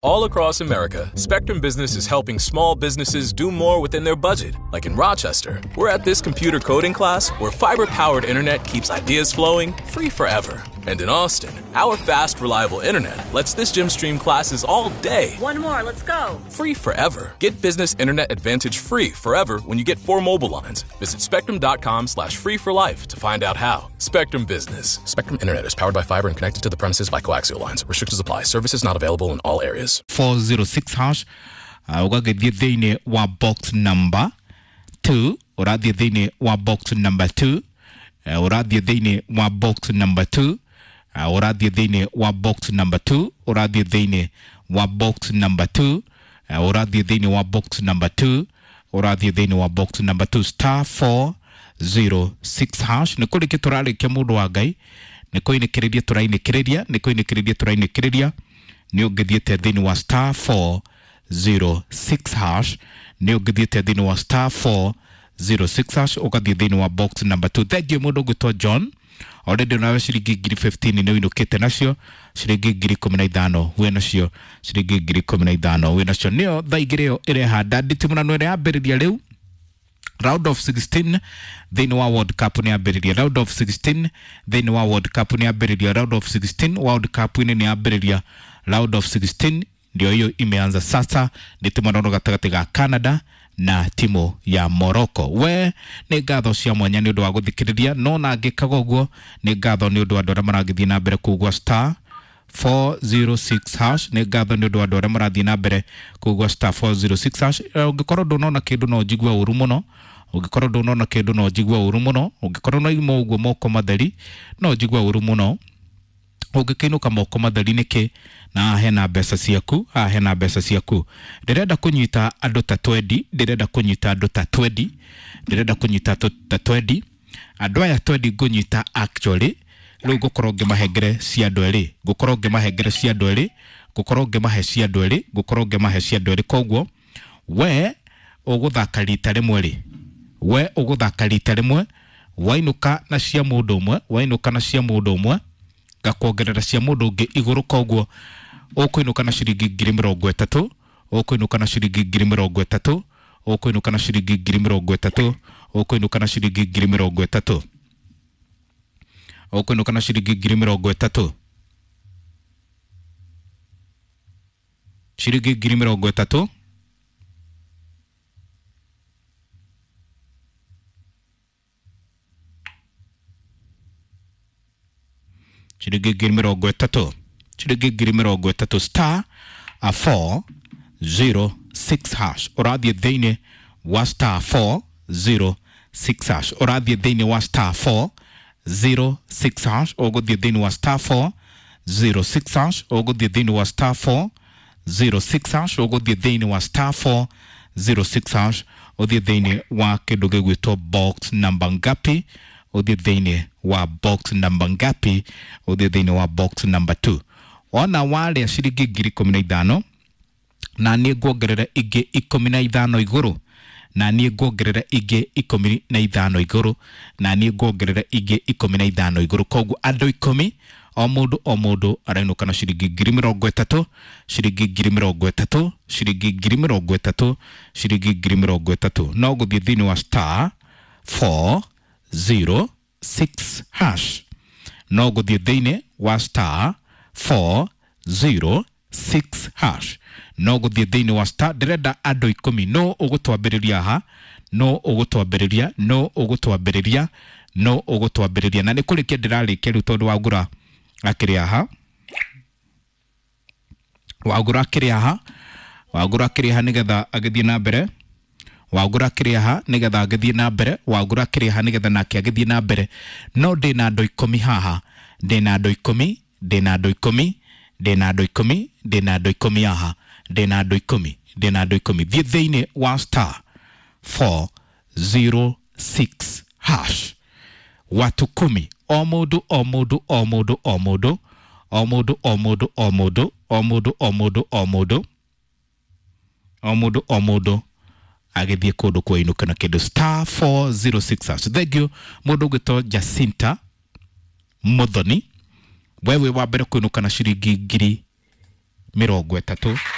All across America, Spectrum Business is helping small businesses do more within their budget. Like in Rochester, we're at this computer coding class where fiber-powered internet keeps ideas flowing free forever. And in Austin, our fast, reliable internet lets this gym stream classes all day. One more, let's go. Free forever. Get business internet advantage free forever when you get 4 mobile lines. Visit spectrum.com/free for life to find out how. Spectrum Business. Spectrum Internet is powered by fiber and connected to the premises by coaxial lines. Restrictions apply. Services not available in all areas. 406 hash ũgagĩthiĩ thĩinĩ wa box number 2, ũrathiĩ thĩinĩ wa box number 2, ũrathiĩ thĩinĩ wa box number 2, ũrathiĩ thĩinĩ wa box number 2, ũrathiĩ thĩinĩ wa box number 2, ũrathiĩ thĩinĩ wa box number 2, ũrathiĩ thĩinĩ wa box number 2 star 406 hash. Nĩ kũrĩkia tũrarĩkia mũndũ wa Ngai, nĩ kũinĩkĩrĩria tũrainĩkĩrĩria, nĩ kũinĩkĩrĩria tũrainĩkĩrĩria. Nĩ ũngĩthiĩte thĩinĩ wa star 406 hash, nĩ ũngĩthiĩte thĩinĩ wa star 406 hash ũgathiĩ thĩinĩ wa box number 2. Thank you mũndũ ũgwĩtwo John. Already nawe ciringi ngiri 15 nĩ ũinũkĩte nacio, ciringi ngiri 15 wĩ nacio, ciringi ngiri 15 wĩ nacio. Nĩyo thaa igĩrĩ ĩyo ĩrehanda nditimũrano ĩrĩa yambĩrĩria rĩu round of 16 thĩinĩ wa World Cup nĩ yambĩrĩria, round of 16 thĩinĩ wa World Cup nĩ yambĩrĩria, round of 16 World Cup inĩ nĩ yambĩrĩria, round of 16 ndio hiyo imeanza sasa. Nĩ timu gatagatĩ ga Canada na timu ya Morocco. We nĩ ngatho cia mwanya nĩ ũndũ wa gũthikĩrĩria, no na ngĩkaga ũguo nĩ ngatho nĩ ũndũ wa andũ arĩa maragĩthiĩ na mbere kugua star 406 hash. Nĩ ngatho nĩ ũndũ wa andũ arĩa marathiĩ na mbere kugua star 406 hash. Ũngĩkorwo ndũnona kĩndũ no njigue ũru mũno, ũngĩkorwo ndũnona kĩndũ no njigue ũru mũno, ũngĩkorwo no ima ũguo moko matheri no njigue ũru mũno. Ũngĩkĩinũka moko matheri nĩkĩ na hena mbeca ciaku, haha hena mbeca ciaku. Ndĩrenda kũnyita andũ ta 20, ndĩrenda kũnyita andũ ta 20, ndĩrenda kũnyita ta 20. Andũ aya 20 ngũnyita actually rĩu ngũkorwo ngĩmahengere cia andũ erĩ, ngũkorwo ngĩmahengere cia andũ erĩ, ngũkorwo ngĩmahe cia andũ erĩ, ngũkorwo ngĩmahe cia andũ erĩ. Koguo we ũgũthaka rita rĩmwe rĩ, we ũgũthaka rita rĩmwe, wainũka na cia mũndũ ũmwe, wainũka na cia mũndũ ũmwe, ngakuongerera cia mũndũ ũngĩ igũrũ. Koguo ũkũinũka na ciringi ngiri mĩrongo ĩtatũ, ũkũinũka na ciringi ngiri mĩrongo ĩtatũ, ũkũinũka na ciringi ngiri mĩrongo ĩtatũ, ũkũinũka na ciringi ngiri mĩrongo ĩtatũ, ũkũinũka na ciringi ngiri mĩrongo ĩtatũ, ciringi ngiri mĩrongo ĩtatũ, ciringi ngiri mĩrongo ĩtatũ, ciringi ngiri mĩrongo ĩtatũ star 406 hash. Ũrathiĩ thĩinĩ wa star 406 hash, ũrathiĩ thĩinĩ wa star 406 hash, ũgũthiĩ thĩinĩ wa star 406 hash, ũgũthiĩ thĩinĩ wa star 406 hash, ũgũthiĩ thĩinĩ wa star 406 hash, ũthiĩ thĩinĩ wa kĩndũ gĩgwĩtwo box number ngapi, ũthiĩ thĩinĩ wa box number ngapi, ũthiĩ thĩinĩ wa box number 2. Ona warĩa ciringi ngiri 15 na niĩ nguongerera ingĩ 15 igũrũ, na niĩ nguongerera ingĩ 15 igũrũ, na niĩ nguongerera ingĩ 15 igũrũ. Koguo andũ 10, o mũndũ o mũndũ arainũka na ciringi ngiri mĩrongo ĩtatũ, ciringi ngiri mĩrongo ĩtatũ, ciringi ngiri mĩrongo ĩtatũ, ciringi ngiri mĩrongo ĩtatũ. No gũthiĩ thĩinĩ wa star 406 hash, no gũthiĩ thĩinĩ wa star 406 hash, no gũthiĩ thĩinĩ wa star. Ndĩrenda andũ 10, no ũgũtwambĩrĩria haha, no ũgũtwambĩrĩria, no ũgũtwambĩrĩria, no ũgũtwambĩrĩria. Na nĩ kũrĩkia ndĩrarĩkia rĩu tondũ Wangũra akĩrĩ haha, Wangũra akĩrĩ haha, Wangũra akĩrĩ haha nĩgetha agĩthiĩ na mbere, Wangũra akĩrĩ haha nĩgetha agĩthiĩ na mbere, Wangũra akĩrĩ haha nĩgetha nake agĩthiĩ na mbere. No ndĩna andũ 10 haha, ndĩna andũ 10, ndĩna andũ 10, ndĩna andũ 10, ndĩna andũ 10 haha, ndĩna andũ 10, ndĩna andũ 10. Thiĩ thĩinĩ wa star 406 hash, watu 10, o mũndũ o mũndũ o mũndũ o mũndũ o mũndũ o mũndũ o mũndũ o mũndũ o mũndũ o mũndũ o mũndũ o mũndũ agĩthiĩ kũndũ kwainũka na kĩndũ star 406 hash. Thank you mũndũ ũgwĩtwo Jacinta Muthoni, wewe wa mbere kũinũka na ciringi ngiri 30.